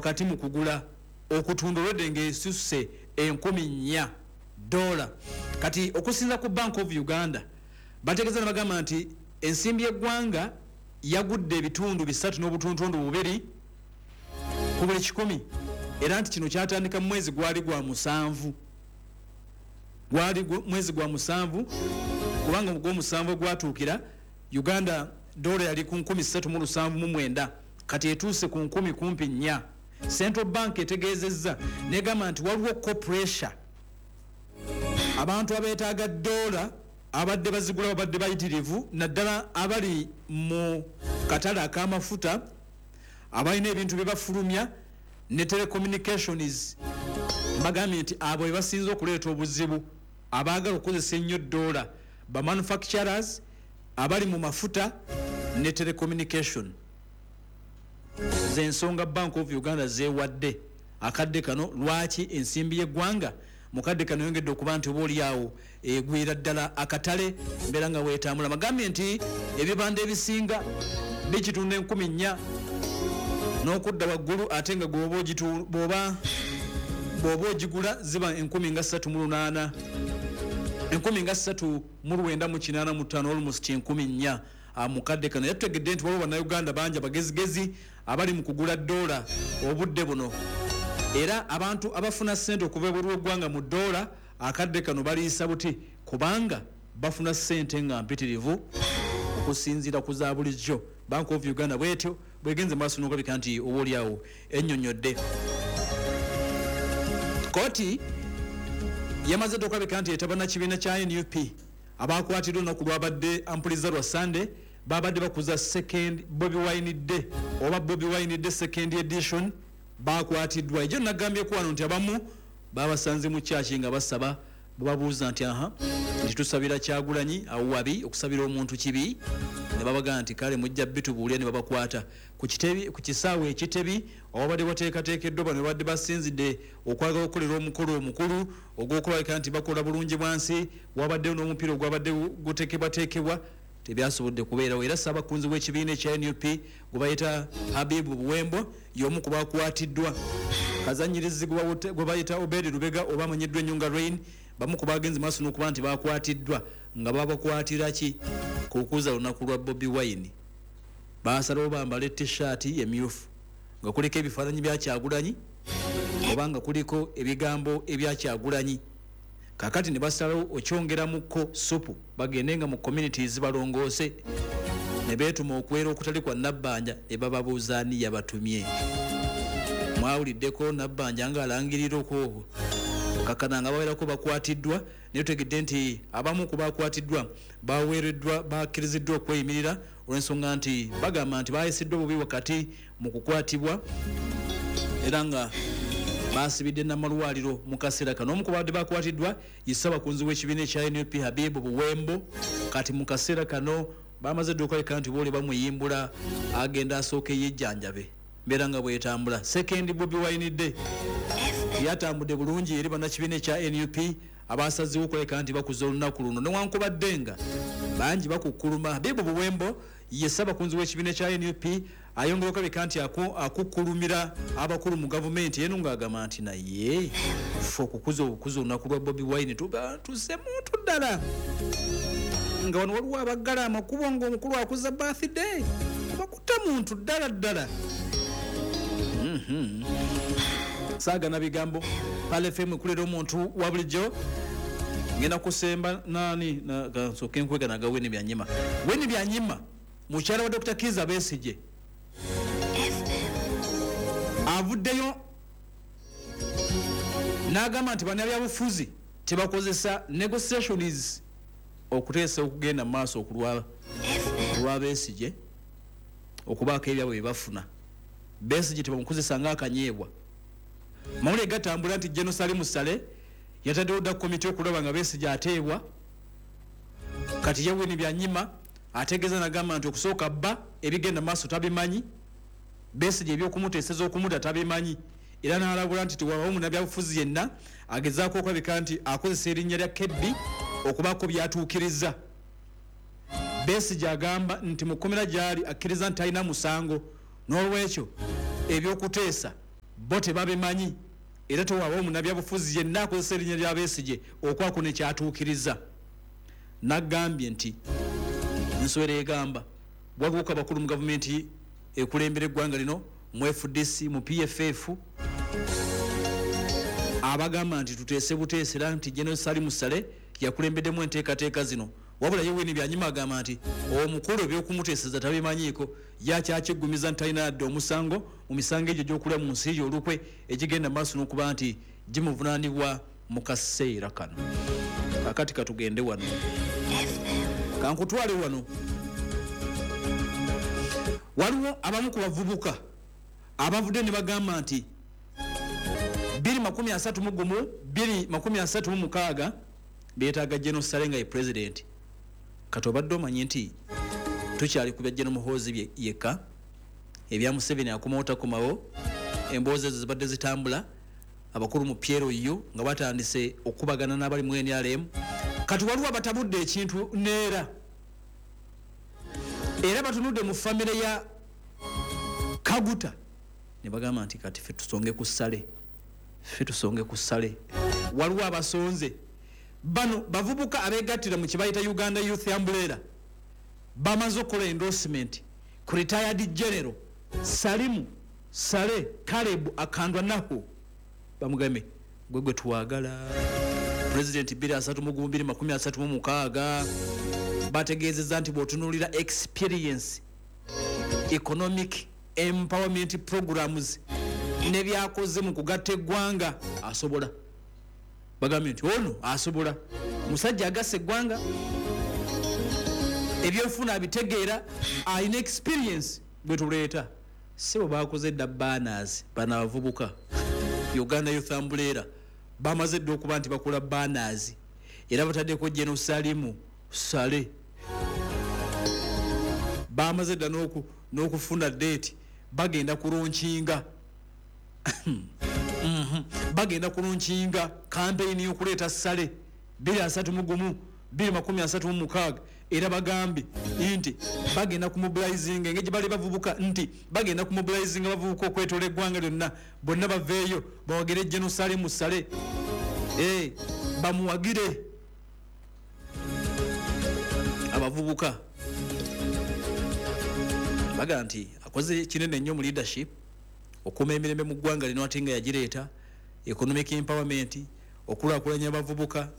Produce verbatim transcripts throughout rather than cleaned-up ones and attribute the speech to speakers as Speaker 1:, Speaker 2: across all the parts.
Speaker 1: Wakati mu kugula okutunda olwedde ng'esusse enkumi nnya dola. Kati okusinza ku Bank of Uganda, bategeeza ne bagamba nti ensimbi y'eggwanga yagudde ebitundu bisatu n'obutuntundu bubiri ku buli kikumi, era nti kino kyatandika mu mwezi gwali gwa musanvu, gwali mwezi gwa musanvu, kubanga gw'omusanvu gwatuukira Uganda dola yali ku nkumi ssatu mu lusanvu mu mwenda, kati etuuse ku nkumi kumpi nnya. Central Bank etegeezezza negamba nti waliwo ko pressure, abantu abeetaaga dola abadde bazigula babadde bayitirivu, naddala abali mu katale ak'amafuta, abalina ebintu bye bafulumya ne telecommunications. Bagambye nti abo bebasinze okuleeta obuzibu, abaagala okukozesa ennyo dola, ba manufacturers, abali mu mafuta ne telecommunication. Zensonga Bank of Uganda zeewadde akadde kano lwaki ensimbi y'eggwanga mukadde kano yongedde okuba nti oba oliawo egwira ddala akatale mbeera nga weetambula. Bagambye nti ebibanda ebisinga bikitunda enkumi nnya n'okudda waggulu, ate nga bw'oba bw'oba ogigula ziba enkumi nga ssatu mu lunaana, enkumi nga ssatu mu lwenda mu kinaana mu ttaano, almost enkumi nnya mukadde kano. Yatutegedde nti waliwo Bannayuganda bangi abagezigezi abali mu kugula dola obudde buno, era abantu abafuna ssente okuva ebweru w'eggwanga mu dola akadde kano baliisa buti, kubanga bafuna ssente nga mpitirivu okusinziira ku za bulijjo. Bank of Uganda bwetyo bwegenze maaso n'okulabika nti oba oliawo ennyonnyodde. Kooti yamaze dda okulabika nti etaba na kibiina kya N U P abakwatiddwa olunaku lwabadde ampuliza lwa Sunday, babadde bakuza second Bobi Wine Day oba Bobi Wine Day second edition, bakwatiddwa. Ejo nagambyeko wano nti abamu babasanze mu kyaki nga basaba, bababuuza nti aha nti tusabira Kyagulanyi awo wabi okusabira omuntu kibi, ne babagamba nti kale mujja bitubuulira, ne babakwata ku kitebi, ku kisaawe ekitebi awabadde wateekateekeddwa. Bano babadde basinzidde okwagala okukolera omukolo omukulu ogw'okulabika nti bakola bulungi bwansi, wabaddewo n'omupiira ogwabadde guteekebwateekebwa, tebyasobodde kubeerawo. Era ssaabakunzi w'ekibiina ekya N U P gwe bayita Habibu Buwembo y'omu ku bakwatiddwa. Kazannyirizi gwe bayita Obedi Lubega oba amanyiddwa ennyo nga Rain, bamu ku bagenzi maaso n'okuba nti bakwatiddwa nga babakwatira ki kukuza lunaku lwa Bobi Wine. Baasalawo bambale t-shirt emyufu nga kuliko ebifaananyi bya Kyagulanyi oba nga kuliko ebigambo ebya Kyagulanyi. Kakati ne basalawo okyongeramukko supu bagende nga mu communities balongoose, ne beetuma okwera okutali kwa Nabbanja, ne bababuuza ani yabatumye. Mwawuliddeko Nabbanja ng'alangirira okwo kakana nga bawerako bakwatiddwa, naye tutegedde nti abamu ku bakwatiddwa baweereddwa, bakkiriziddwa okweyimirira olw'ensonga nti bagamba nti baayisiddwa bubi wakati mu kukwatibwa, era nga basibidde n'amalwaliro mu kaseera kano. Omu ku babadde bakwatiddwa ye ssabakunzi w'ekibiina ekya N U P Habibu Buwembo. Kati mu kaseera kano bamaze dda okulabika nti booli bamuyimbula agenda asooke yejjanjabe mbeera nga bwetambula. Second Bobi Wine Day yatambudde bulungi eri bannakibiina ekya N U P abasazeewo okulabika nti bakuza olunaku luno newankubadde nga bangi bakukkuluma. Habibu Buwembo ye ssabakunzi w'ekibiina ekya N U P ayongera okulabika nti akukkulumira abakulu mu gavumenti eno ng'agamba nti naye ffe okukuza obukuza olunaku lwa Bobi Wine tuba tuse muntu ddala, nga wano waliwo abaggala amakubo ng'omukulu akuza birthday bakuta muntu ddala ddala. Mm-hmm. Saagana bigambo. Pale F M ekulera omuntu wa bulijjo. Ngenda kusemba nani na nsooke nkweganaga Winnie Byanyima. Winnie Byanyima mukyala wa Doctor Kizza Besigye avuddeyo n'agamba nti bannabyabufuzi tebakozesa negotiations okuteesa okugenda mu maaso okulwa olwa Besigye okubaako ebyabwe bye bafuna. Besigye tebamukozesa ng'akanyeebwa. Mawulire gatambula nti General Salim Saleh yataddewo dda komiti okulaba nga Besigye ateebwa. Kati ye Winnie Byanyima ategeeza n'agamba nti okusooka bba ebigenda mu maaso tabimanyi, Besigye ebyokumuteeseza okumuta tabimanyi, era n'alabula nti tewabaawo munnabyabufuzi yenna agezaako okulabika nti akozesa erinnya lya K B okubaako by'atuukiriza. Besigye agamba nti mu kkomera gy'ali akkiriza nti talina musango, n'olwekyo ebyokuteesa Bo tebabimanyi era tewaba omunnabyabufuzi yenna akozesa erinnya lya Besigye okwako ne kyatuukiriza. Nagambye nti nsowera egamba waliwo abakulu mu gavumenti ekulembera eggwanga lino, mu F D C, mu P F F, abagamba nti tuteese buteesera nti General Salim Saleh yakulembeddemu enteekateeka zino. Wabula ye Winnie Byanyima agamba nti omukulu ebyokumuteeseza tabimanyiiko, yakyakiggumiza nti talina yadde omusango mu misango egyo gy'okulya mu nsi ye olukwe egigenda mu maaso n'okuba nti gimuvunaanibwa mu kaseera kano. Kaakati katugende wano, kankutwale wano. Waliwo abamu ku bavubuka abavudde ne bagamba nti bbiri makumi asatu mu gumu, bbiri makumi asatu mu mukaaga beetaaga General Saleh nga ye president. Kati obadde omanyi nti tukyali ku bya General Muhoozi yekka, ebya Museveni akomawo takomawo, emboozi ezo zibadde zitambula, abakulu mu P L U nga batandise okubagana n'abali mu N R M. Kati waliwo abatabudde ekintu neera era batunudde mu famire ya Kaguta ne bagamba nti kati ffe tusonge ku Saleh, ffe tusonge ku Saleh. Waliwo abasonze bano bavubuka abeegattira mu kibayita Uganda Youth Umbrella, bamaze okukola endorsement ku retired general Salimu Saleh Caleb Akandwanaho, bamugambe gwe gwe twagala president bbiri asatu mu gumu bbiri makumi asatu mu mukaaga. Bategeezezza nti bw'otunuulira experience, economic empowerment programs ne byakoze mu kugatta eggwanga asobola. Bagambye nti ono asobola, musajja agasse eggwanga, ebyenfuna abitegeera, alina experience gwe tuleeta. Si bwe bakoze dda banners bano abavubuka Uganda Youth Umbrella bamaze dda okuba nti bakola banners era bataddeko General Salimu Saleh. Bamaze dda n'okufuna date, bagenda kulonkinga bagenda kulonkinga campaign y'okuleeta Saleh bbiri asatu mu gumu bbiri makumi asatu mu mukaaga. Era bagambye nti bagenda kumobilizinga engeri gye bali bavubuka, nti bagenda kumobilizinga abavubuka okwetoola eggwanga lyonna, bonna baveeyo bawagire General Salim Saleh, eh, bamuwagire. Abavubuka bagamba nti akoze kinene nnyo mu leadership okuuma emirembe mu ggwanga lino ate nga yagireeta, economic empowerment, okulaakulanya abavubuka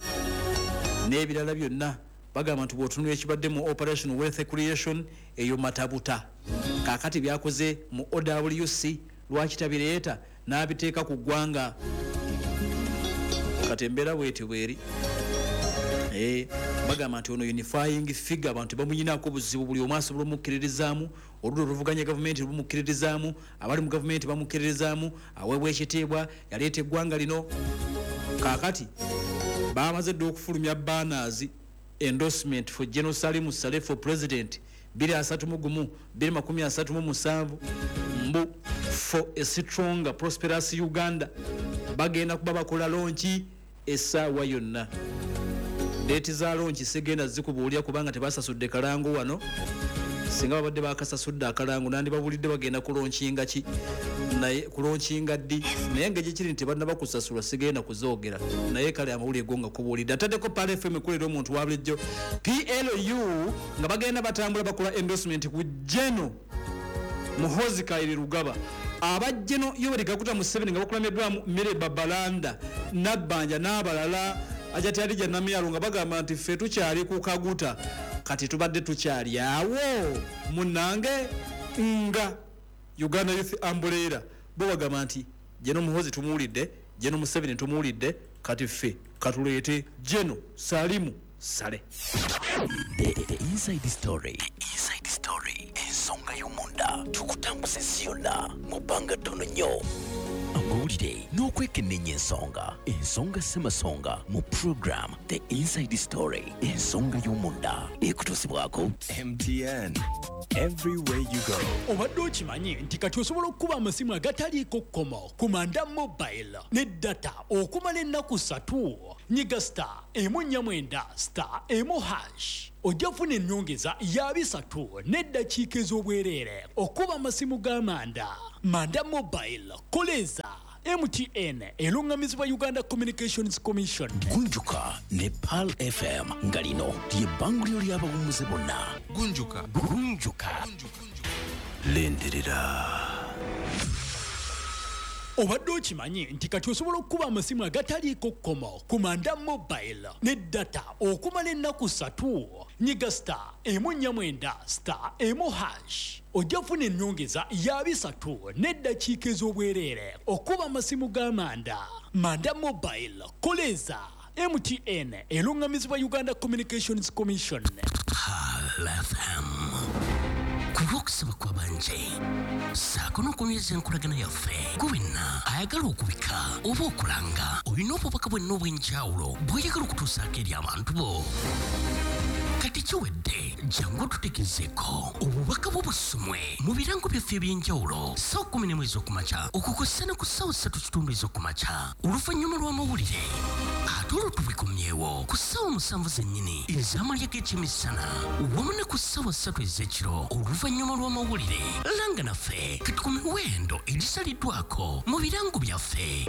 Speaker 1: n'ebirala byonna. Bagamba nti bw'otunula ekibadde mu Operation Wealth Creation eyo matabuta, kaakati byakoze mu O W C lwaki tabireeta n'abiteeka ku ggwanga? Kati embeera bw'etyo bw'eri. Eh, bagamba nti ono unifying figure, abantu bamuyinaako obuzibu, buli omu asobola omukkiririzaamu, oludda oluvuganya gavumenti lumukkiririzaamu, abali mu gavumenti bamukkiririzaamu, aweebwa ekitiibwa, yaleeta eggwanga lino. Kaakati bamaze dda okufulumya banners endorsement for General Salim Saleh for president bbiri asatu mu gumu bbiri makumi asatu mu musanvu, mbu for a stronger prosperous Uganda. Bagenda kuba bakola lonki essaawa yonna. Deeti za lonki sigenda zikubuulira kubanga tebasasudde kalango wano. Singa babadde bakasasudde akalango nandibabulidde bagenda kulonkinga ki, naye kulonkinga ddi, naye engeri kiri nti tebannaba kusasula sigenda kuzoogera. Naye kale amawulire go nga kubuulidde. Ataddeko Pearl F M ekulera omuntu wa bulijjo P L U nga bagenda batambula bakola endorsement ku General Muhoozi Kainerugaba. Aba General Yoweri Kaguta Museveni nga bakulembeddwamu Milly Babalanda, Nabbanja n'abalala, Hajati Hadija Namyalo nga bagamba nti ffe tukyali ku Kaguta, kati tubadde tukyali awo munnange nga Uganda Youth Umbrella bo bagamba nti General Muhoozi tumuwulidde, General Museveni tumuwulidde, kati ffe katuleete General Salimu Saleh.
Speaker 2: The, the Inside Story. The Inside Story. Ensonga y'omunda tukutambuza ensi yonna mu bbanga ttono nnyo. Amawulire n'okwekenneenya ensonga. Ensonga ssemasonga mu program The Inside Story. Ensonga y'omunda ekutuusibwako
Speaker 3: M T N. Everywhere you go.
Speaker 4: Obadde okimanyi nti kati osobola okukuba amasimu agataliiko kkomo ku Manda Mobile ne data okumala ennaku ssatu? Nyiga star emu nnya mwenda star emu hash, ojja kufuna ennyongeza ya bisatu n'eddakiika ez'obwereere okuba amasimu ga Manda. Manda Mobile, koleza M T N, eruŋŋamizibwa Uganda Communications Commission.
Speaker 2: Gunjuka ne Pearl F M, nga lino lye bbanguliro ly'abawummuze bonna.
Speaker 5: Gunjuka.
Speaker 2: Gunjuka.
Speaker 3: Lindirira.
Speaker 4: Obadde okimanyi nti kati osobola okukuba amasimu agataliiko kkomo ku Manda Mobile ne data okumala ennaku ssatu? Nyiga star emu nnya mwenda star emu hash, ojja kufuna ennyongeza ya bisatu n'eddakiika ez'obwereere okuba amasimu ga Manda. Manda Mobile, koleza M T N, eruŋŋamizibwa Uganda Communications Commission.
Speaker 2: Pearl F M, ku lw'okusaba kw'abanje ssaako n'okunyweza enkolagana yaffe, gwe wenna ayagala okubika oba okulanga, olina obubaka bwenna obw'enjawulo bw'oyagala okutuusaako eri abantu bo, kati kiwedde. Jangu otutegezeeko obubaka bwo busomwe mu birango byaffe eby'enjawulo ssaawa kumi n'emu ez'okumakya okukosa ne ku ssaawa ssatu kitundu ez'okumakya oluvannyuma lw'amawulire, ate olwo tubikomyewo ku ssaawa musanvu zennyini ez'amalya g'ekyemisana wamu ne ku ssaawa ssatu ez'ekiro oluvannyuma lw'amawulire. Langa naffe kati ku miwendo egisaliddwako mu birango byaffe.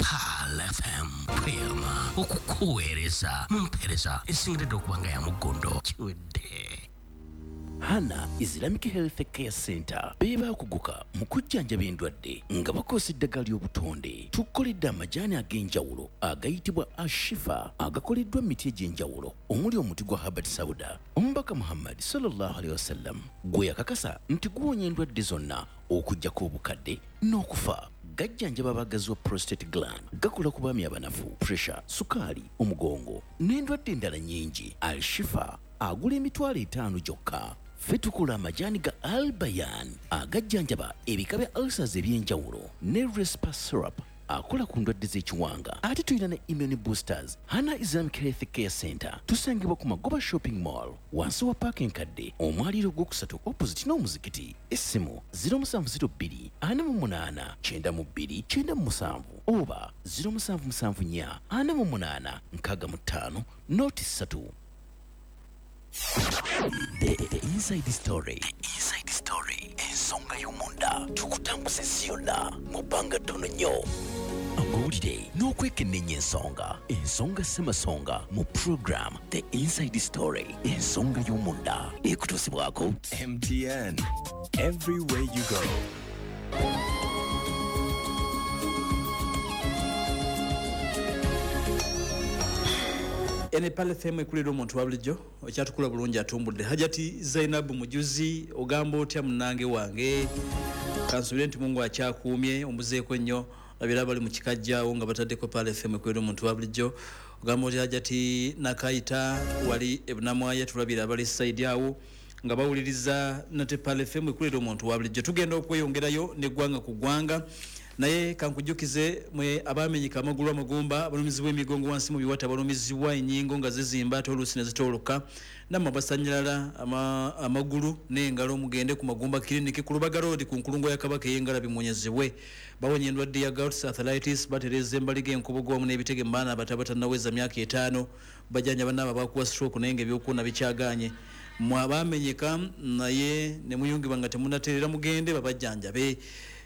Speaker 2: Pearl F M, tweyama okukuweereza mu mpeereza esingiridde okuba nga ya muggondo. Kiwedde. Hana Islamic Health Care Center be baakuguka mu kujjanjaba endwadde nga bakozesa eddagala ly'obutonde. Tukoledde amajaani ag'enjawulo agayitibwa Ashifa, agakoleddwa mu miti egy'enjawulo omuli omuti gwa Habbat Sauda, Omubaka Muhammad sallallahu alaihi wasallam gwe yakakasa nti guwonya endwadde zonna okuggyako obukadde n'okufa. Gajjanjaba abagazi wa prostate gland, gakola ku baami abanafu, pressure, sukaali, omugongo n'endwadde endala nnyingi. Alshifa agula emitwalo etaano gyokka. Ffe tukola amajaani ga Albayan agajjanjaba ebika bya ulcers ebyenjawulo ne Respa syrup akola ku ndwadde z'ekiwanga, ate tulina ne immune boosters. Hana Islamic Health Care Center tusangibwa ku Magoba Shopping Mall, wansi wa paaka enkadde, omwaliiro ogwokusatu, opposite n'omuzikiti. Essimu zero seven zero two four eight nine two nine seven oba zero seven seven four four eight six five noti three. The, the Inside Story. The Inside Story. Ensonga y'omunda, tukutambuza ensi yonna mu bbanga ttono nnyo. Amawulire n'okwekenneenya ensonga, ensonga ssemasonga mu program The Inside Story, ensonga y'omunda, ekutuusibwako
Speaker 3: M T N. Everywhere you go.
Speaker 1: Ene Pearl F M, ekulira omuntu wa bulijjo. Okyatukula bulungi, atumbudde Hajati Zainabu Mujuzi. Ogamba otya munnange wange? Kansubire nti Mungu akyakuumye, ombuzeeko nnyo. Abira bali mu kikajjaawo nga bataddeko Pearl F M, ekulira omuntu wa bulijjo. Ogamba otya Hajati Nakayita wali ebunamwaya? Tulabira abali side awo nga bawuliriza nate Pearl F M, ekulira omuntu wa bulijjo. Tugenda okweyongerayo neggwanga ku ggwanga, naye kankujjukize mwe abamenyeka amagulu, amagumba, abalumizibwa emigongo wansi mu biwata, abalumizibwa ennyingo nga zizimba ate oluusi ne zitooloka, nammwe abasanyalala ama, amagulu n'engalo, mugende ku Magumba Clinic ku Lubaga Road, ku nkulungo ya Kabaka ey'engalabi, muwonyezebwe. Bawonya endwadde ya gout, arthritis, batereeza embaliga, enkobogo wamu n'ebitege mu baana abato abatannaweza myaka etaano, bajjanja bannaabo abakuwa stroke naye nga ebyokuwona bikyagaanye. Mwe abamenyeka naye ne muyungibwa nga temunateerera, mugende babajjanjabe.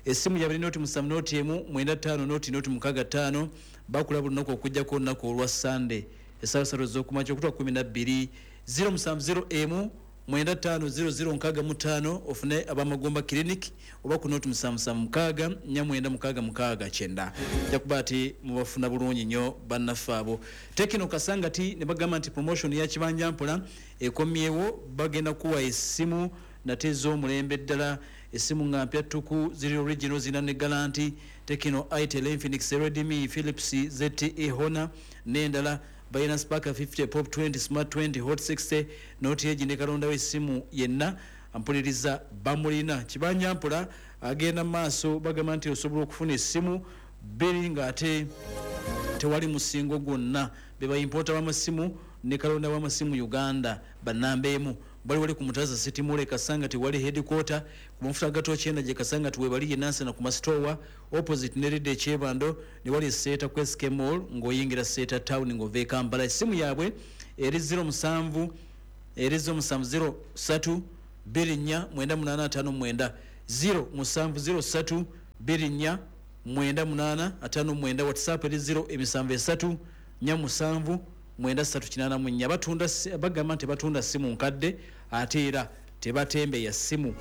Speaker 1: Essimu yabiri noti musanvu noti emu mwenda ttaano noti noti mukaaga ttaano. Bakula buli lunaku okuggyako olunaku olwa Sande, essaawa ssatu ez'okumakya okutuuka kumi na bbiri. zero musanvu zero emu mwenda ttaano zero zero nkaaga mu ttaano, ofune ab'Amagumba Clinic, oba ku noti musanvu musanvu mukaaga nnya mwenda mukaaga mukaaga kyenda. Nja kuba ati mubafuna bulungi nnyo bannaffe abo. Tecno Kasangati ne bagamba nti promotion ya kibanja mpola ekomyewo. Bagenda kuwa essimu nate ez'omulembe ddala, essimu nga mpya ttuku, ziri original, zirina ne guarantee. Tecno, Itel, Infinix, Redmi, Philips, Z T E, Honor n'endala. Balina Spark fifty, Pop twenty, Smart twenty, Hot sixty, Note egi ne kalondawo essimu yenna ampuliriza bamulina. Kibanja mpola agenda mu maaso, bagamba nti osobola okufuna essimu bbiri ng'ate tewali musingo gwonna. Be ba importer w'amasimu ne kalonda w'amasimu Uganda, bannamba emu. Bali wali ku Mutaza City Mall e Kasangati wali headquarter, ku mafuta ga Torch Energy Kasangati webali Nansana ku Mastowa opposite Neride Kyebando ne wali Seeta ku S K Mall ng'oyingira Seeta Town ng'ova e Kampala. Essimu yaabwe eri zero musanvu eri zero musanvu zero ssatu bbiri nnya mwenda munaana ataano mwenda, zero musanvu zero ssatu bbiri nnya mwenda munaana ataano mwenda. WhatsApp eri zero emisanvu esatu nnya musanvu mwenda ssatu kinaana mu nnya. Batunda si-, bagamba nti batunda simu nkadde ate era tebatembeya simu.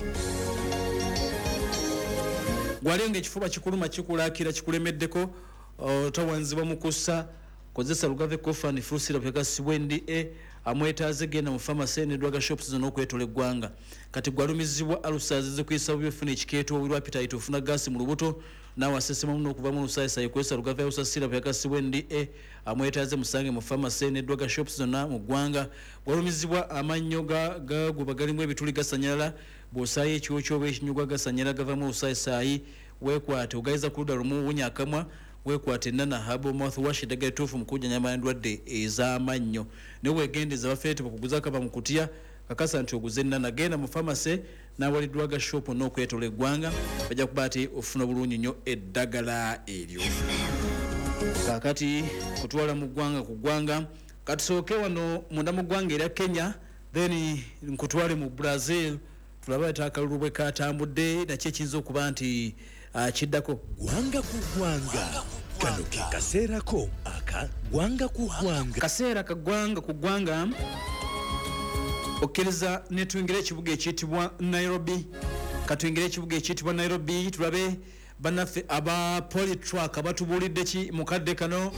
Speaker 1: Gwalenga ekifuba kikuluma kikulaakira kikulemeddeko, otawanzibwa mu kussa, kozesa Lugave Cough and Flu Syrup yakasibwa N D A amwetaaze genda mu pharmacy ne drug shops zonna okwetola eggwanga. Kati gwalumizibwa ulcers zikuyisa bubi, ofuna ekikeeto, obulwa appetite, ofuna gaasi mu lubuto, naawe asesemamu n'okuva mu lusaayisayi, kozesa Lugave Ulcer Syrup yakasibwa N D A amwetaaze musange mu pharmacy ne drug shops zonna mu ggwanga. Gwalumizibwa amannyo ga-, gaguba galimu ebituli gasanyalala, bw'osaayo ekiwokyo oba ekinyugwa gasanyalala gavamu olusaayisayi, weekwate ogayiza ku ludda lumu wunya akamwa, weekwate Nana Herbal Mouthwash eddagala ettuufu mu kujjanjaba endwadde ez'amannyo. Naye weegendeza bafeete bakuguza akava mu kutya, kakasa nti oguze Nana. Genda mu pharmacy n'awali drug shop n'okwetola eggwanga, bajja kuba ati ofuna bulungi nnyo eddagala eryo. Kaakati kutwala mu ggwanga ku ggwanga, katusooke wano munda mu ggwanga erya Kenya, then nkutwale mu Brazil tulabe ate akalulu bwe katambudde nakyo ekiyinza okuba nti, ah, kiddako.
Speaker 2: Ggwanga ku ggwanga, kano ke kaseerako aka ggwanga ku ggwanga.
Speaker 1: Kaseera ka ggwanga ku ggwanga, okkiriza ne tuyingira ekibuga ekiyitibwa Nairobi. Katuyingire ekibuga ekiyitibwa Nairobi tulabe bannaffe aba Polytruck abatubuulidde ki mu kadde kano.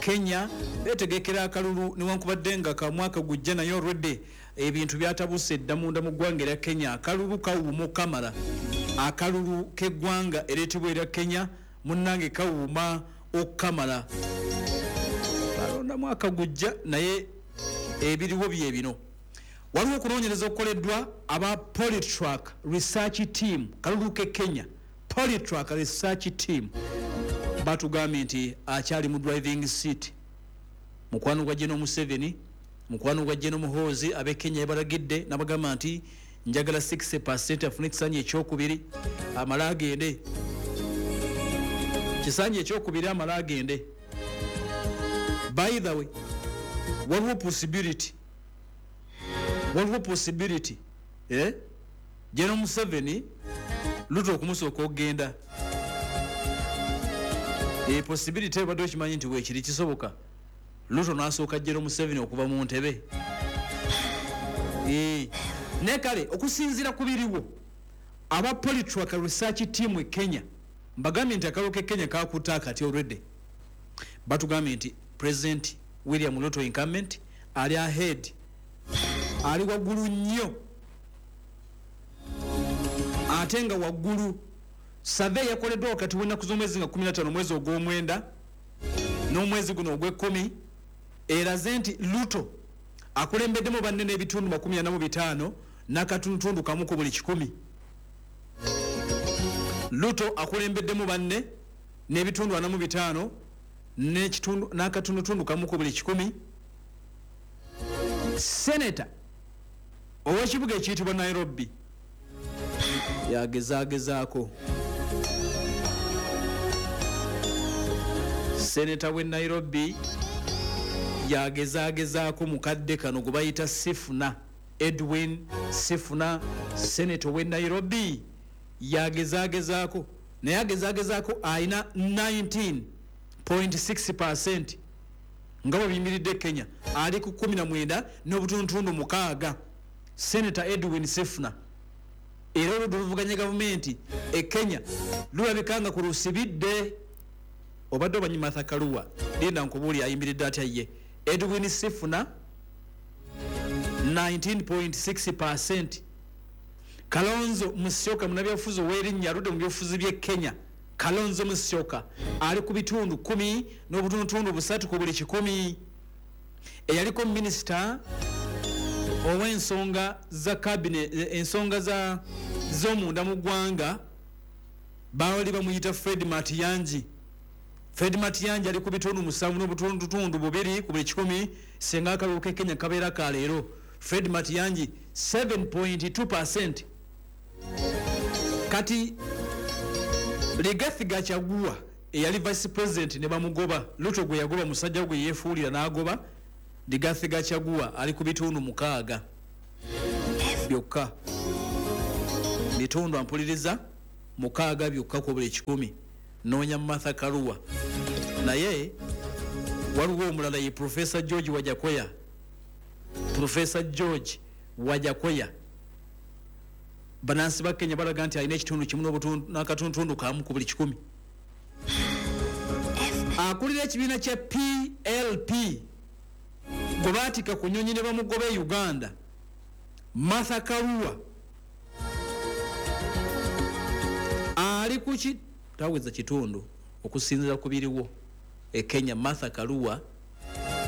Speaker 1: Kenya beetegekera akalulu newankubadde nga ka mwaka gujja, naye olwedde ebintu byatabuse dda munda mu ggwanga erya Kenya. Akalulu kawuuma okukamala, akalulu k'eggwanga ereetebwa erya Kenya munnange kawuuma okukamala. Balonda mwaka gujja naye ebiriwo bye bino. Waliwo okunoonyereza okukoleddwa aba Polytruck Research Team, kalulu k'e Kenya, Polytruck Research Team batugambye nti akyali mu driving seat mukwano gwa General Museveni, mukwano gwa General Muhoozi. Ab'e Kenya yabalagidde n'abagamba nti njagala sixty percent afune ekisanja ekyokubiri amale agende, kisanja ekyokubiri amale agende. By the way, waliwo possibility, waliwo possibility, eh? General Museveni Ruto okumusooka okugenda. E possibility ebadde okimanyi nti weekiri kisoboka Ruto n'asooka General Museveni okuva mu ntebe. Eh, ne kale okusinziira ku biriwo aba Polytruck Research Team e Kenya mbagambye nti akalulu k'e Kenya kakutte akati already. Batugambye nti President William Ruto incumbent ali ahead, ali waggulu nnyo, ate nga waggulu. Survey yakoleddwa wakati w'ennaku z'omwezi nga kkumi na ttaano omwezi ogw'omwenda n'omwezi guno ogw'ekkumi eraze nti Ruto akulembeddemu banne n'ebitundu makumi ana mu bitaano n'akatundutundu kamu ku buli kikumi. Ruto akulembeddemu banne n'ebitundu ana mu bitaano n'ekitundu n'akatundutundu kamu ku buli kikumi. Senator ow'ekibuga ekiyitibwa Nairobi yagezaagezaako. Senator w'e Nairobi yagezaagezaako mu kadde kano gwe bayita Sifuna, Edwin Sifuna, senator w'e Nairobi yagezaagezaako, naye agezaagezaako alina nineteen point six percent nga bwe biyimiridde Kenya, ali ku kkumi na mwenda n'obutundutundu mukaaga. Senator Edwin Sifuna era oludda oluvuganya gavumenti e Kenya lulabika nga ku lusibidde. Obadde omanyi Martha Karua, linda nkubuulire ayimiridde atya ye. Edwin Sifuna nineteen point six percent. Kalonzo Musyoka munnabyabufuzi ow'erinnya aludde mu byobufuzi by'e Kenya, Kalonzo Musyoka ali ku bitundu kkumi n'obutundutundu busatu ku buli kikumi. Eyaliko minisita ow'ensonga za cabinet, ensonga za z'omunda mu ggwanga baali bamuyita Fred Matiang'i. Fred Matiang'i ali ku bitundu musanvu n'obutundutundu bubiri ku buli kikumi singa akalulu k'e Kenya kabeera ka leero. Fred Matiang'i seven point two percent. Kati Rigathi Gachagua eyali vice president ne bamugoba, Ruto gwe yagoba musajja gwe yeefuulira n'agoba. Rigathi Gachagua ali ku bitundu mukaaga byokka, bitundu ampuliriza mukaaga byokka ku buli kikumi. Noonya Martha Karua. Naye waliwo omulala ye Professor George Wajackoyah. Professor George Wajackoyah, bannansi ba Kenya balaga nti alina ekitundu kimu n'akatundutundu kamu ku buli kikumi. Akulira ekibiina kya P L P gwe baatika ku nnyonyi ne bamugoba e Uganda, Martha Karua ali ku ki taweza kitundu okusinziira ku biriwo e Kenya. Martha Karua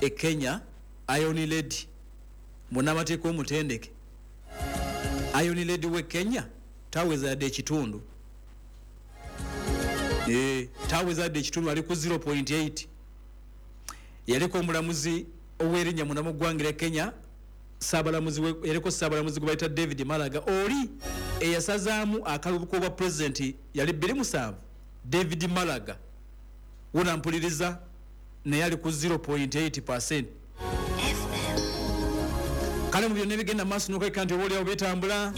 Speaker 1: e Kenya, Iron Lady, munnamateeka omutendeke, Iron Lady we Kenya taweza yadde ekitundu, eh taweza yadde ekitundu, ali ku zero point eight. Yaliko omulamuzi ow'erinnya munda mu ggwanga lya Kenya, Ssaabalamuzi yaliko Ssaabalamuzi gwe bayita David Maraga, oli eyasazaamu akalulu k'obwa pulezidenti yali bbiri musanvu. David Maraga wona mpuliriza naye ali ku zero point eight percent. Kale mu byonna ebigenda maaso n'okweka nti oba oliawo bitambula,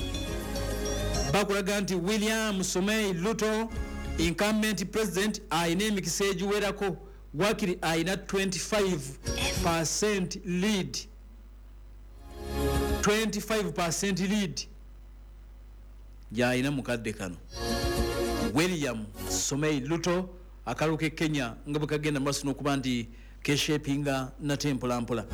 Speaker 1: bakulaga nti William Samoei Ruto incumbent president ayina emikisa egiwerako, wakiri ayina twenty-five percent lead, twenty-five percent lead gy'ayina mu kadde kano. William Samoei Ruto akalulu ke Kenya nga bwe kagenda maaso n'okuba nti keshapinga nate mpolampola.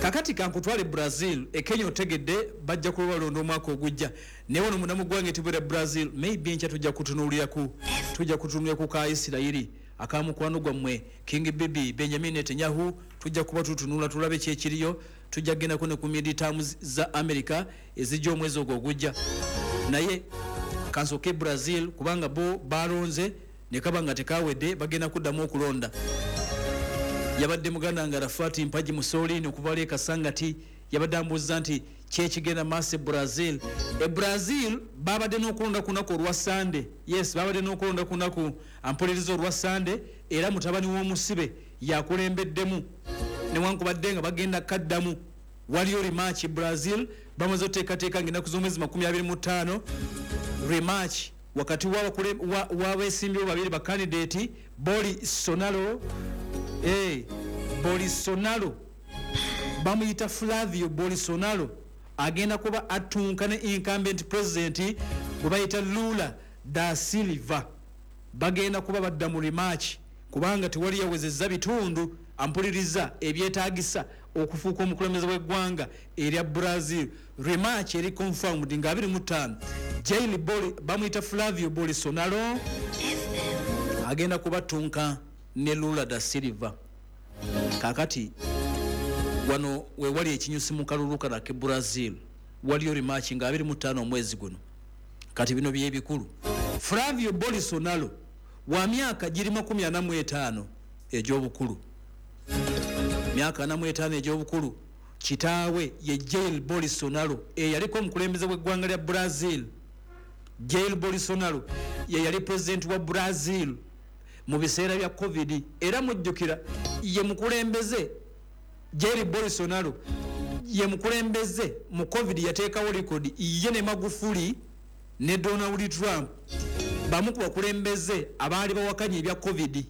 Speaker 1: Kakati kankutwale Brazil, e Kenya otegedde bajja kuba balonda omwaka ogujja. Naye wano munda mu ggwanga etubera Brazil, maybe enkya tujja kutunuuliraku, tujja kutunuulira ku ka Isirayiri akamukwano gwammwe King Bibi Benjamin Netanyahu, tujja kuba tutunula tulabe ki ekiriyo, tujja kugendako ne ku midterms za America ezijja omwezi ogwo ogujja. Naye kansooke Brazil kubanga bo balonze ne kaba nga tekawedde, bagenda kuddamu okulonda. Yabadde muganda nga Arafat Mpagi Mussolini okuva wali e Kasangati yabadde ambuuza nti ki ekigenda maaso e Brazil. E Brazil babadde n'okulonda ku lunaku olwa Sande. Yes, babadde n'okulonda ku lunaku ampuliriza olwa Sande, era mutabani w'omusibe yakulembeddemu newankubadde nga bagenda kaddamu. Waliyo rematch e Brazil, bamaze oteekateeka ng'ennaku z'omwezi makumi abiri mu ttaano rematch wakati w'abeesimbyewo babiri bakandidate Bolsonaro, eh, Bolsonaro bamuyita Flavio Bolsonaro agenda kuba atunka ne incumbent president gwe bayita Lula da Silva. Bagenda kuba badda mu rematch kubanga tewali yawezezza bitundu ampuliriza ebyetaagisa okufuuka omukulembeze w'eggwanga erya Brazil. Rematch eri confirmed nga abiri mu ttaano. Jair Boli bamuyita Flavio Bolsonaro agenda kubatunka ne Lula da Silva. Kakati wano we wali ekinyusi mu kalulu kano ak'e Brazil, waliyo rematch nga abiri mu ttaano omwezi guno. Kati bino byebikulu. Flavio Bolsonaro wa myaka giri makumi ana mu etaano egy'obukulu, myaka ana mu etaano egy'obukulu. Kitaawe ye Jair Bolsonaro eyaliko omukulembeze w'eggwanga lya Brazil. Jair Bolsonaro ye yali president wa Brazil mu biseera bya COVID, era mujjukira ye mukulembeze Jair Bolsonaro ye mukulembeze mu COVID yateekawo record ye ne Magufuli ne Donald Trump bamu ku bakulembeze abaali bawakanya ebya COVID.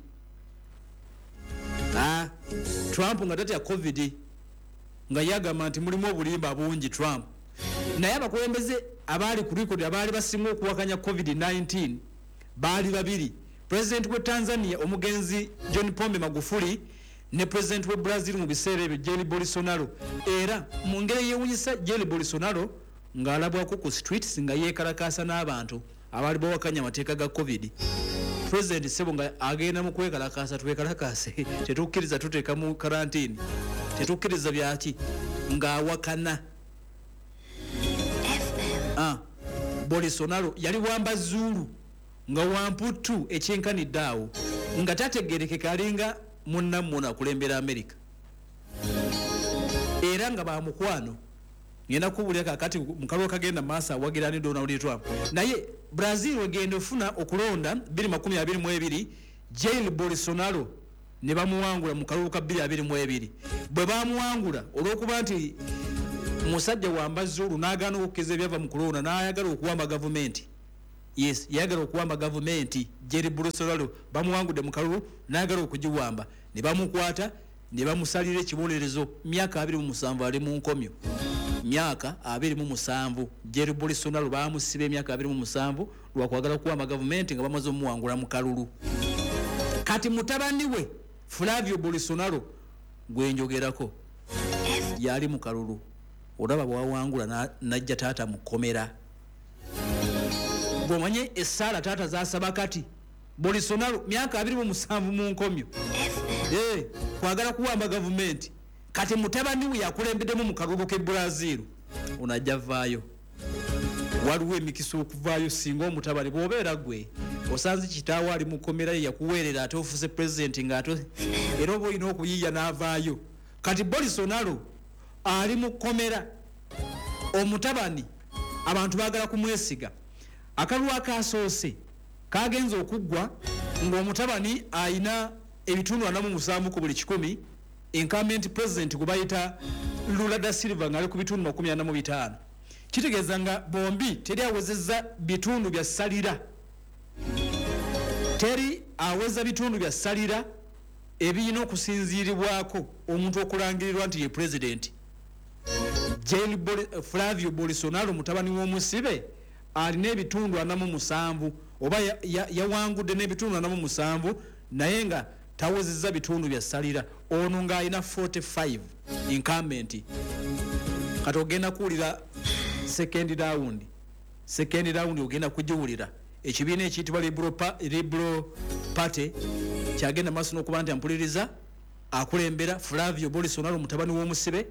Speaker 1: Ah, Trump nga tatya COVID nga yagamba nti mulimu obulimba bungi Trump. Naye abakulembeze abaali ku record abaali basinga okuwakanya COVID nineteen baali babiri, President we Tanzania omugenzi John Pombe Magufuli ne President we Brazil mu biseera ebyo Jair Bolsonaro. Era mu ngeri yeewuunyisa Jair Bolsonaro ng'alabwako ku streets nga yeekalakaasa n'abantu abaali bawakanya amateeka ga COVID. President sebo nga agenda mu kwekalakaasa, twekalakaase, tetukkiriza tuteeka mu karantini, tetukkiriza byaki, ng'awakana. Ah, Bolsonaro yali wambazuulu nga wamputu ekyenkanidde awo nga tategerekeka, alinga munnammwe akulembera America, era nga bamukwano. Ngenda kubuulira kakati mukalulu kagenda maaso awagira ne Donald Trump. Naye Brazil wegenda ofuna okulonda bbiri makumi abiri mu ebiri, Jair Bolsonaro ne bamuwangula mu kalulu ka bbiri abiri mu ebiri. Bwe bamuwangula olw'okuba nti musajja wambazuulu n'agaana okukkiriza ebyava mu kulonda n'ayagala okuwamba gavumenti. Yes, yayagala okuwamba gavumenti. Jair Bolsonaro bamuwangudde mu kalulu n'ayagala okugiwamba, ne bamukwata ne bamusalira ekibonerezo myaka abiri mu musanvu ali mu nkomyo. Myaka abiri mu musanvu Jair Bolsonaro bamusiba emyaka abiri mu musanvu lwakwagala kuwamba gavumenti nga bamaze omuwangula mu kalulu. Kati mutabani we Flavio Bolsonaro gwenjogerako yali mu kalulu, olaba bwawangula najja taata mu kkomera. Bw'omanye essaala taata z'asaba kati Bolsonaro myaka abiri mu musanvu mu nkomyo, eh, kwagala kuwamba gavumenti. Kati mutabani we yakulembeddemu mu kalulu k'e Brazil, ono ajja vaayo. Waliwo emikisa okuvaayo singa omutabani bw'obeera gwe osanze kitaawo ali mu kkomera ye yakuweerera ate ofuuse pulezidenti ng'ate era oba olina okuyiiya n'avaayo. Kati Bolsonaro ali mu kkomera, omutabani abantu baagala kumwesiga. Akalulu akasoose kagenze okuggwa ng'omutabani ayina ebitundu ana mu musanvu ku buli kikumi, incumbent president gwe bayita Lula da Silva ng'ali ku bitundu makumi ana mu bitaano. Kitegeeza nga bombi teri awezezza bitundu bya ssalira, teri aweza bitundu bya ssalira ebirina okusinziiribwako omuntu okulangirirwa nti ye pulezidenti. Jair Flavio Bolsonaro mutabani w'omusibe alina ebitundu ana mu musanvu, oba yawangudde n'ebitundu ana mu musanvu naye nga tawezezza bitundu bya ssalira. Ono ng'alina forty-five incumbent. Kati ogenda kuwulira second round, second round ogenda kugiwulira. Ekibiina ekiyitibwa Liberal Party kyagenda maaso n'okuba nti ampuliriza akulembera Flavio Bolsonaro mutabani w'omusibe.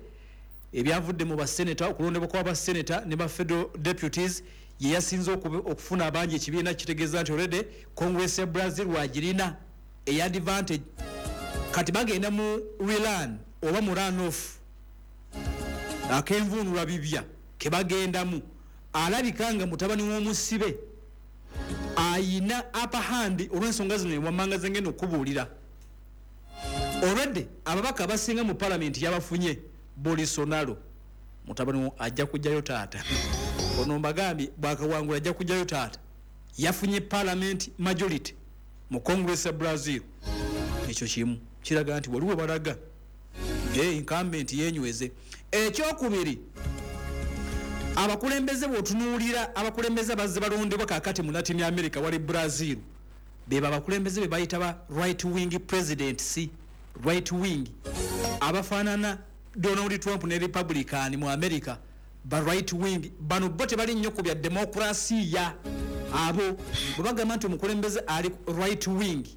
Speaker 1: Ebyavudde mu baseneta, okulondebwa kw'abaseneta ne ba federal deputies, ye yasinze okufuna abangi. Ekibiina kitegeeza nti already Congress ya Brazil wagirina eya advantage. Kati bagenda mu rerun oba mu run off akenvunulwa bibya kebagendamu. Alabika nga mutabani w'omusibe ayina upper hand olw'ensonga zino ewammanga zengenda okubuulira. Already ababaka abasinga mu parliament yabafunye Bolsonaro. Mutabani ajja kujjayo taata. Ono mbagambye bwakawangula ajja kujjayo taata. Yafunye parliament majority mu Congress ya Brazil. Ekyo kimu kiraga nti waliwo balaga eh, incumbent yenyweze. Ekyokubiri, abakulembeze bw'otunuulira abakulembeze abazze balondebwa kaakati mu Latin America wali Brazil, beba abakulembeze be bayita ba right wing presidents, right wing abafaanana Donald Trump ne Republican mu America, ba right wing. Bano bo tebali nnyo ku bya demokrasiya. Abo bwe bagamba nti omukulembeze ali right wing,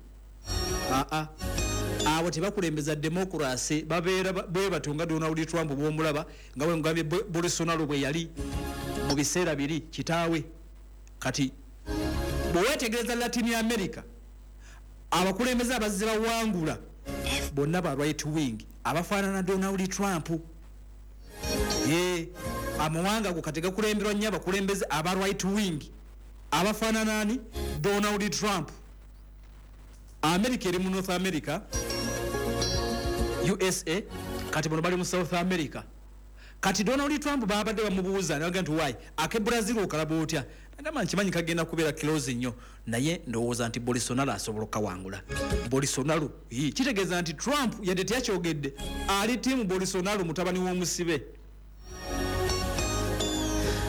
Speaker 1: aa abo tebakulembeza demokrasi, babeera bwe batyo nga Donald Trump bw'omulaba, nga bwe mugambye Bolsonaro bwe yali mu biseera biri kitaawe. Kati bwe weetegereza Latin America, abakulembeze abazze bawangula bonna ba right wing abafaanana Donald Trump. Ye amawanga ago kati gakulemberwa nnyo abakulembeze aba right wing abafaanana ani? Donald Trump. America eri mu North America, U S A, kati bano bali mu South America. Kati Donald Trump babadde bamubuuza naga nti why ake Brazil okalaba otya? Nagamba nkimanyi kagenda kubeera close nnyo, naye ndowooza nti Bolsonaro asobola okukawangula. Bolsonaro kitegeeza nti Trump yadde teyakyogedde ali tiimu Bolsonaro mutabani w'omusibe.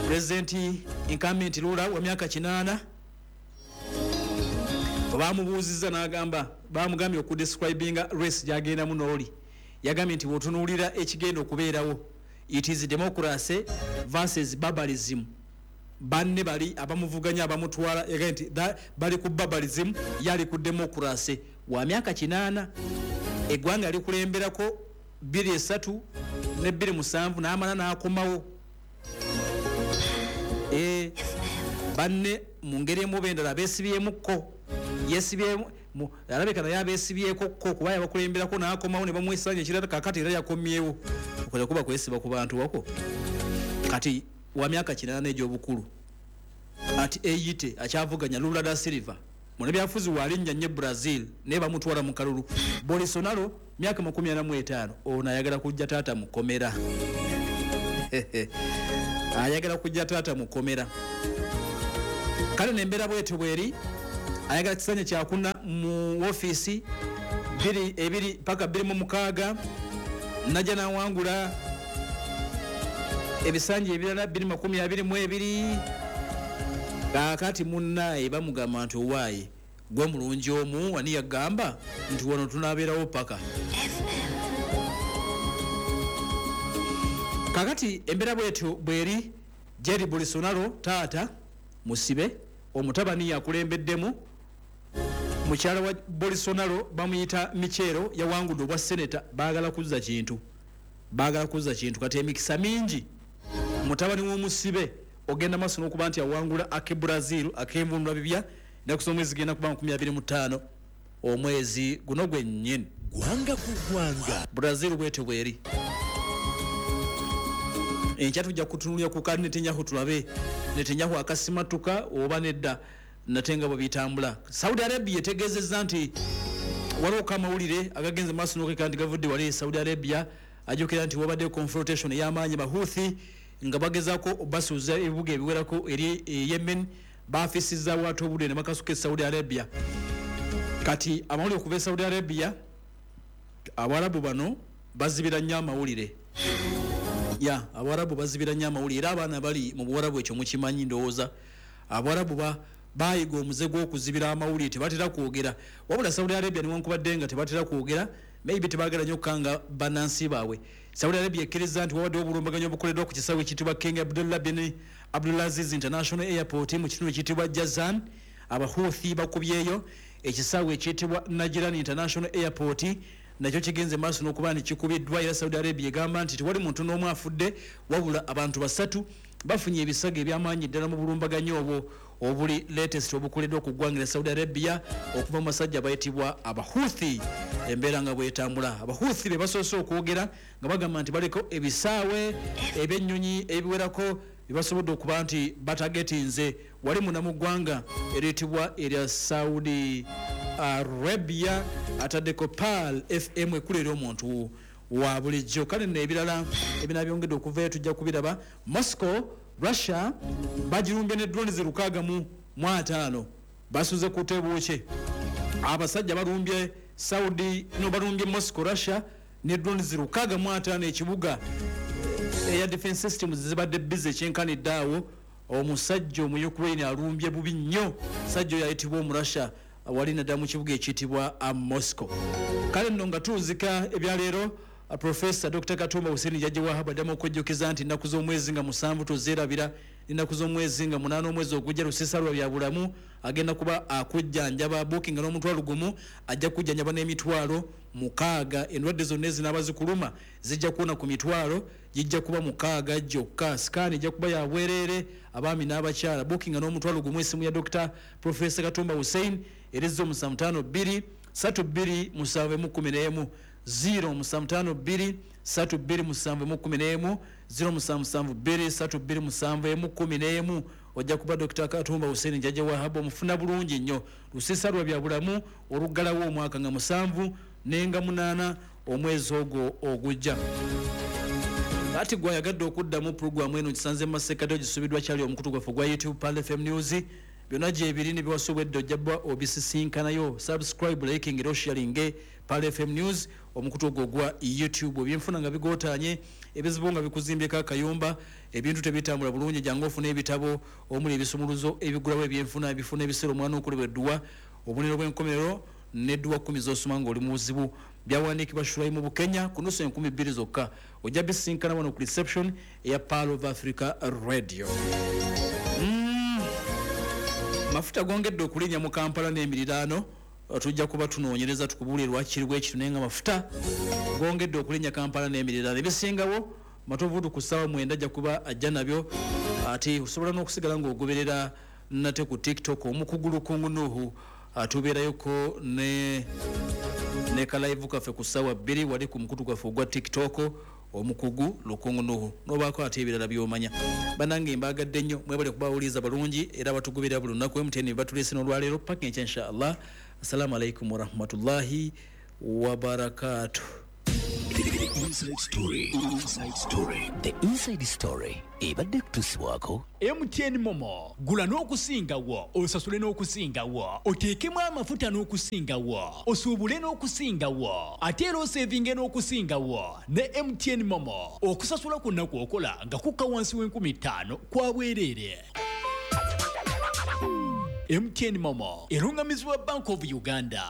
Speaker 1: President incumbent Lula wa myaka kinaana bamubuuzizza n'agamba, bamugambye okudescribinga race gy'agendamu n'oli. Yagambye nti bw'otunuulira ekigenda okubeerawo, it is democracy versus barbarism. Banne bali abamuvuganya abamutwala, yagambye nti bali ku barbarism, yali ku democracy. Wa myaka kinaana, eggwanga likulemberako bbiri esatu ne bbiri musanvu n'amala n'akomawo. E, banne mu ngeri emu oba endala beesibyemukko, yeesibyemu alabika naye abeesibyeko ko kuba yabakulemberako n'akomawo ne bamwesanya ekirala. Kaakati era yakomyewo okola kuba kwesiba ku bantu wako. Kati wa myaka kinaana egy'obukulu ati eyite akyavuganya Lula da Silva, munabyafuzi walinnya nnyo Brazil naye bamutwala mu kalulu. Bolsonaro myaka makumi ana mu etaano, ono ayagala kujja taata mukomera, ayagala kujja taata mukomera. Kale nembeera bwetyo bweri, ayagala kisanya kyakuna mu ofiisi biri ebiri paka bbiri mu mukaaga, najja nawangula ebisanja ebirala bbiri makumi abiri mu ebiri. Kaakati munnaye bamugamba nti owaaye gwe mulungi omu, wani yagamba nti wano tunaabeerawo paka. Kaakati embeera bwetyo bweri, Jair Bolsonaro taata musibe, omutabani yakulembeddemu. Mukyala wa Bolsonaro bamuyita Michelo, yawangudde obwa seneta. Baagala kuzza kintu, baagala kuzza kintu. Kati emikisa mingi mutabani w'omusibe ogenda maaso n'okuba nti awangula ake Brazil ak'envunula bibya. Ennaku z'omwezi zigenda kuba makumi abiri mu ttaano omwezi guno gwennyini.
Speaker 2: Gwanga ku gwanga.
Speaker 1: Brazil bwetyo bweri. Enkya tujja kutunulira ku ka Netanyahu, tulabe Netanyahu akasimatuka oba nedda, nate nga bwe bitambula. Saudi Arabia etegeezezza nti waliwo amawulire agagenze maaso n'okweka nti gavudde wali e Saudi Arabia. Ajjukira nti wabadde confrontation ey'amaanyi, Bahuthi nga bagezaako basuuza ebibuga ebiwerako eri e Yemen, baafisizza ate obudde ne bakasuka e Saudi Arabia. Kati amawulire okuva e Saudi Arabia, Abawarabu bano bazibira nnyo amawulire. Ya, Abawarabu bazibira nnyo amawulire, era abaana bali mu Buwarabu ekyo mukimanyi ndowooza. Abawarabu ba bayiga omuze gw'okuzibira amawulire, tebatera kwogera. Wabula Saudi Arabia newankubadde nga tebatera kwogera, maybe tebaagala nnyo okukanga bannansi baabwe. Saudi Arabia ekkiriza nti wabaddewo obulumbaganyi obukoleddwa ku kisaawe ekiyitibwa King Abdullah bin Abdulaziz International Airport mu kitundu ekiyitibwa Jazan. Abahuthi bakubyeyo. Ekisaawe ekiyitibwa Najran International Airport nakyo kigenze maaso n'okuba nti kikubiddwa. Era Saudi Arabia egamba nti tewali muntu n'omu afudde, wabula abantu basatu bafunye ebisago eby'amaanyi ddala mu bulumbaganyi obwo obuli latest obukoleddwa ku ggwanga lya Saudi Arabia okuva mu basajja abayitibwa Abahuthi. Embeera nga bwetambula, Abahuthi be basoose okwogera nga bagamba nti baliko ebisaawe ebyennyonyi ebiwerako byebasobodde okuba nti batagetinze wali munda mu ggwanga eriyitibwa erya Saudi Arabia. Ataddeko Pearl F M ekkula eri omuntu wa bulijjo. Kale nno ebirala ebinabyongedde okuvayo tujja kubiraba. Moscow, Russia bagirumbye ne drones lukaaga mu ataano, basuze ku tebuuke. Abasajja balumbye Saudi, no balumbye Moscow, Russia ne drones lukaaga mu ataano ekibuga. Air defense systems zibadde busy ekyenkanidde awo. Omusajja omu Ukraine alumbye bubi nnyo, musajja oyo ayitibwa Omurussia wali naddala mu kibuga ekiyitibwa Moscow. Kale nno nga tuwuzika ebyaleero, Profesa Doctor Katumba Hussein Jajja Wahab addamu okwejjukiza nti ennaku z'omwezi nga musanvu tozeerabira, ennaku z'omwezi nga munaana omwezi ogujja Lusisa lwa bya bulamu agenda kuba akujjanjaba. Bookinga n'omutwalo gumu ajja kujjanjaba n'emitwalo mukaaga. Endwadde zonna ezinaaba zikuluma zijja kuwona ku mitwalo gijja kuba mukaaga gyokka. Sikaani ejja kuba ya bwereere abaami n'abakyala. Bookinga n'omutwalo gumu, essimu ya Doctor Profesa Katumba Hussein erizo musanvu ttaano bbiri ssatu bbiri musanvu emu kkumi n'emu, zero musanvu ttaano bbiri ssatu bbiri musanvu emu kkumi n'emu, zero musanvu musanvu bbiri ssatu bbiri musanvu emu kkumi n'emu. Ojja kuba Doctor Katumba Hussein Jajja Wahab omufuna bulungi nnyo. Lusisa lwa bya bulamu oluggalawo omwaka nga musanvu nenga munaana omwezi ogwo ogujja. Ati gwayagadde okuddamu pulogulaamu eno kisanze mu masekkati ogisubiddwa kyali omukutu gwaffe ogwa YouTube Pearl F M News. Byonna gyebiri ne biwasobwedde ojja bba obisisinkanayo. Subscribe, liking era osharinge Pearl F M News omukutu ogwo ogwa YouTube. Ebyenfuna nga bigootaanye, ebizibu nga bikuzimbyeko akayumba, ebintu tebitambula bulungi, jangu ofune ebitabo omuli ebisumuluzo ebigulawo ebyenfuna, ebifuna ebiseera omwana okulebwa edduwa, obubonero bw'enkomerero n'edduwa kkumi z'osoma ng'oli mu buzibu. Byawandiikibwa Shuraimu Bukenya ku nusu enkumi bbiri zokka. Ojja bisisinkana wano ku reception eya Pearl of Africa Radio. Mm. Mafuta gongedde okulinnya mu Kampala n'emiriraano. Tujja kuba tunoonyereza tukubuulire lwaki kiri ekyo, naye nga mafuta gongedde okulinnya Kampala n'emiriraano. Ebisingawo Matovu ku ssaawa mwenda ajja kuba ajja nabyo. Ate osobola n'okusigala ng'ogoberera nate ku TikTok omukugulu Kungu Nuhu, tubeerayoko ne ne kalive kaffe ku ssaawa bbiri wali ku mukutu gwaffe ogwa TikTok. Omukugu Lukungu Nuhu n'obaako ate ebirala by'omanya. Bannange mbagadde nnyo, mwebale kubawuliriza bulungi era batugubira buli lunaku. M T N batuleese n'olwaleero paka enkya inshallah. Assalamu alaikum warahmatullahi wabarakatuh.
Speaker 2: The Inside Story. Inside Story. The Inside Story. Ebadde kutuusibwako
Speaker 4: M T N Momo. Gula n'okusingawo, osasule n'okusingawo, oteekemu amafuta n'okusingawo, osuubule n'okusingawo, ate era osevinge n'okusingawo ne M T N Momo. Okusasula ku nnaku okola nga kukka wansi w'enkumi ttaano kwa bwereere. M T N Momo erungamizibwa Bank of Uganda.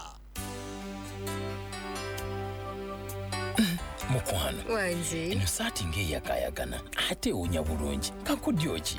Speaker 2: Mukwano
Speaker 5: wange,
Speaker 2: eno saati ng'eyakaayakana ate ewunya bulungi. Kakodyo ki?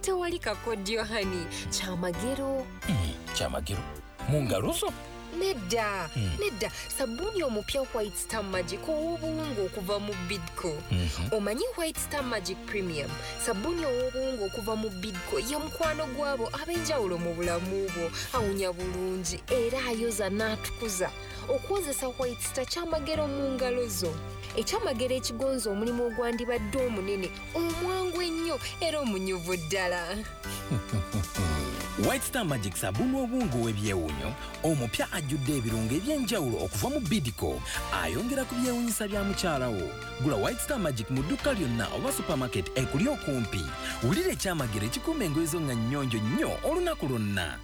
Speaker 5: Tewali kakodyo hani, kyamagero.
Speaker 2: Mm, kyamagero mu ngalo zo?
Speaker 5: Nedda,
Speaker 2: mm.
Speaker 5: nedda, sabuni omupya White Star Magic ow'obuwunga okuva mu Bidco.
Speaker 2: Mm -hmm.
Speaker 5: Omanyi White Star Magic Premium, sabuni ow'obuwunga okuva mu Bidco ye mukwano gwabo ab'enjawulo mu bulamu bwo, awunya bulungi era ayoza n'atukuza. Okwozesa White Star kyamagero mu ngalo zo. Ekyamagero ekigonza omulimu ogwandibadde omunene, omwangu ennyo era omunyuvu ddala.
Speaker 2: White Star Magic sabuni w'obuwunga ow'ebyewuunyo omupya ajjudde ebirungo eby'enjawulo okuva mu Bidco, ayongera ku byewuunyisa bya mukyala wo. Gula White Star Magic mu dduuka lyonna oba supermarket ekuli okumpi. Wulira ekyamagero ekikuuma engoye zo nga nnyonjo nnyo olunaku lwonna.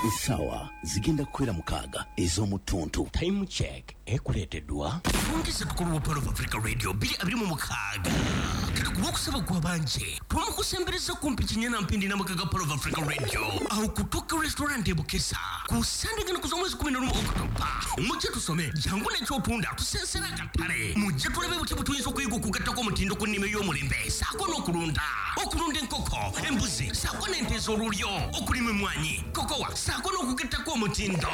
Speaker 2: Essaawa zigenda kukwera mukaaga ez'omutuntu.
Speaker 6: Time check ekuleeteddwa
Speaker 7: Fungisa tukulu wa Pearl of Africa Radio bbiri abiri mu mukaaga. Katukuba okusaba gw'abanje twamukusembereza kumpi kinyana mpindi n'amaka ga Pearl of Africa Radio awo kutuuka restaurant e Bukesa ku Sande gano kuza omwezi kumi n'olumu October. Mujje tusome jangu n'ekyotunda tusensera akatale, mujje tulabe butya bwe tuyinza okuyiga okugattako omutindo ku nnima ey'omulembe ssaako n'okulunda, okulunda enkoko, embuzi ssaako n'ente ez'olulyo, okulima emmwanyi, kokowa ssaako n'okugattako omutindo.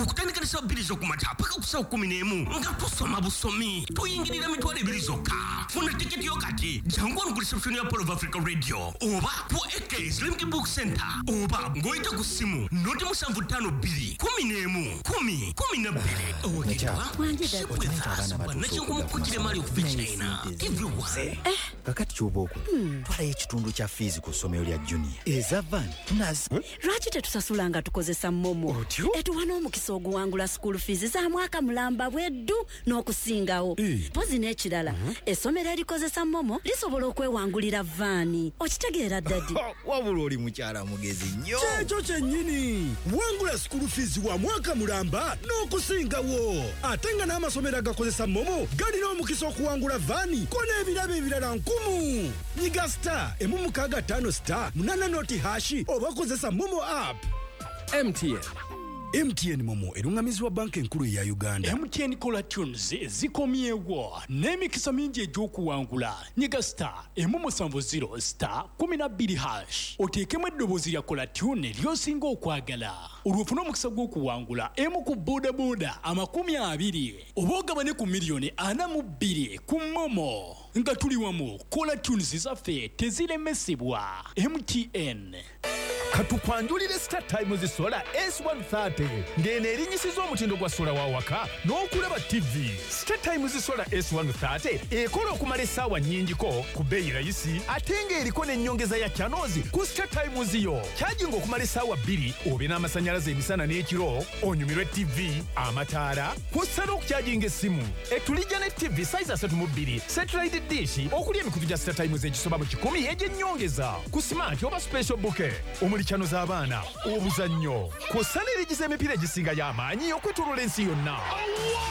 Speaker 7: Okutandika ne ssaawa bbiri z'okumakya paka ku ssaawa kkumi n'emu nga tusoma busomi, tuyingirira mitwalo ebiri zokka. Funa tiketi yo kati, jangu wano ku reception ya Pearl of Africa Radio oba ku A K Slimki Book Center oba ng'oyita ku ssimu noti musanvu ttaano bbiri kumi n'emu kumi kumi na bbiri.
Speaker 8: Kakati ky'oba okola, twalayo ekitundu kya fiizi ku ssomero lya Junior eza van tunazi.
Speaker 9: Lwaki tetusasula nga tukozesa Momo? Etuwa n'omukisa oguwangula school fees za mwaka mulamba bweddu n'okusingawo. Mpozi n'ekirala, essomero erikozesa Momo lisobola okwewangulira vaani. Okitegeera daddy?
Speaker 8: Wabula oli mukyala mugezi nnyo.
Speaker 10: Kyekyo kyennyini, wangula school fees wa mwaka mulamba n'okusingawo. Ate nga n'amasomero agakozesa Momo galina omukisa okuwangula vaani ko n'ebirabo ebirala nkumu. Nyiga star emu mukaaga ttaano star munaana noti hashi oba kozesa Momo app.
Speaker 11: M T N.
Speaker 10: M T N Momo erungamizibwa banka enkulu eya Uganda.
Speaker 4: M T N Caller Tunes zikomyewo n'emikisa mingi egy'okuwangula. Nyiga star emu musanvu zero star kumi na bbiri hash oteekemu eddoboozi lya Caller Tune ly'osinga okwagala, olwo ofune omukisa gw'okuwangula emu ku bodaboda amakumi abiri oba ogabane ku miliyoni ana mu bbiri ku Momo. Nga tuli wamu, Caller Tunes zaffe teziremesebwa. M T N.
Speaker 12: Katukwanjulire Star Times Solar S one thirty ng'eno erinyisiza omutindo gwa sola wa waka n'okulaba T V. Star Times Solar S one thirty ekola okumala essaawa nnyingiko ku bbeeyi rayisi ate ng'eriko n'ennyongeza ya channels ku Star Times yo. Kyajinga okumala essaawa bbiri obe n'amasannyalaze emisana n'ekiro, onyumirwe T V, amataala, kw'ossa n'okukyajinga essimu. Etulijja ne T V size asatu mu bbiri, satellite dish okuli emikutu gya Star Times egisoba mu kikumi egy'ennyongeza ku smart oba special bouquet omuli channel z'abaana, obuzannyo, kw'ossa n'erigiza emipiira egisinga y'amaanyi okwetooloola ensi yonna.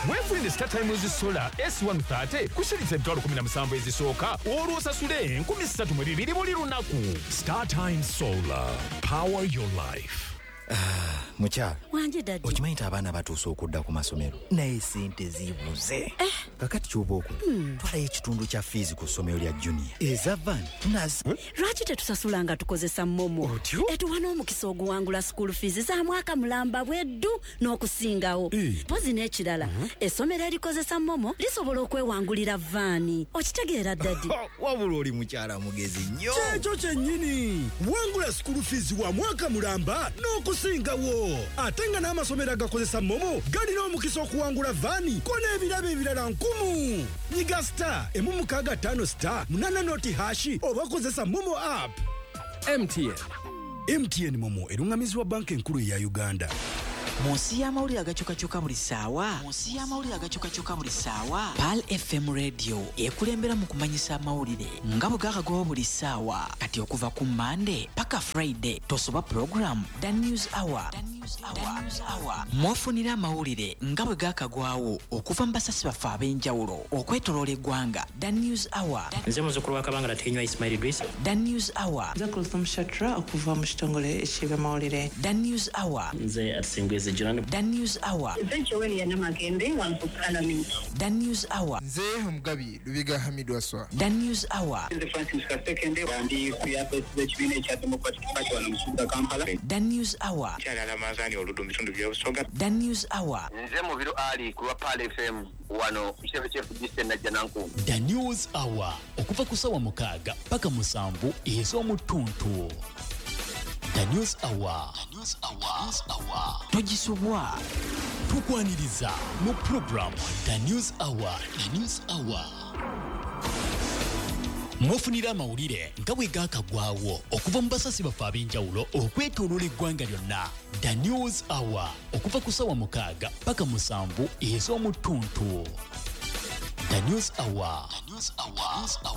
Speaker 12: Weefunire Star Times Solar S one thirty ku shilingi emitwalo kumi na musanvu ezisooka olwo osasule enkumi ssatu mu bibiri buli lunaku.
Speaker 13: Star Times Solar, power your life.
Speaker 8: Ah, mukyala
Speaker 9: wange daddy,
Speaker 8: okimanyi nti abaana batuuse okudda ku masomero naye sente zibuze.
Speaker 9: Eh.
Speaker 8: Kakati ky'oba okola, twalayo ekitundu kya fiizi ku ssomero lya Junior eza van tunazi.
Speaker 9: Lwaki tetusasula nga tukozesa Momo? Etuwa n'omukisa oguwangula school fees za mwaka mulamba bweddu n'okusingawo. Mpozi n'ekirala, essomero erikozesa Momo lisobola okwewangulira vaani. Okitegeera daddy?
Speaker 8: Wabula oli mukyala mugezi nnyo.
Speaker 10: Kyekyo kyennyini, wangula School fees wa mwaka mulamba n'okusingawo. Ate nga n'amasomero agakozesa MoMo galina omukisa okuwangula van ko n'ebirabo ebirala nkumu. Nyiga star emu mukaaga ttaano star munaana noti hash oba kozesa MoMo app.
Speaker 11: M T N.
Speaker 10: M T N MoMo erungamizibwa Banka Enkulu eya Uganda.
Speaker 14: Mu nsi y'amawulire agakyukakyuka buli ssaawa, mu nsi y'amawulire agakyukakyuka buli ssaawa, Pearl F M Radio ekulembera mu kumanyisa amawulire nga bwe gakagwawo buli ssaawa. Kati okuva ku Mande paka Friday tosoba program The News Hour. Mwofunira amawulire nga bwe gakagwawo okuva mu basasi baffe ab'enjawulo okwetoloola eggwanga. The News Hour.
Speaker 15: Nze muzzukulu wa Kabangala Tenywa Ismail Idris.
Speaker 14: The News Hour.
Speaker 16: Nze Kulthum Shatra okuva mu kitongole eky'ebyamawulire.
Speaker 14: The News Hour.
Speaker 15: Nze Atsingwezi Jonan.
Speaker 14: The News Hour.
Speaker 17: Nze Joel Namagembe wano ku Parliament.
Speaker 14: The News Hour.
Speaker 18: Nze Omugabi Lubiga Hamid Waswa.
Speaker 14: The News Hour.
Speaker 19: Nze Francis Kasekende, ndi ku yafesi z'ekibiina ekya Democratic Party wano mu kibuga Kampala.
Speaker 14: The News Hour.
Speaker 19: Kyalala Manzani Oludu mu bitundu by'Obusoga.
Speaker 14: The News Hour.
Speaker 20: Nze Mubiru Ali ku lwa Pearl F M wano ku kitebe ky'e F D C Najjanankumbi.
Speaker 4: The News Hour okuva ku ssaawa mukaaga paka musanvu ez'omutuntu. The News Hour. The News Hour. News Hour.
Speaker 14: Togisubwa.
Speaker 4: Tukwaniriza mu program The News Hour. The News Hour. Mwofunira amawulire nga bwe gaakagwawo okuva mu basasi baffe ab'enjawulo okwetooloola eggwanga lyonna. The News Hour okuva ku ssaawa mukaaga paka musanvu ez'omutuntu. The News Hour. The News Hour. News Hour.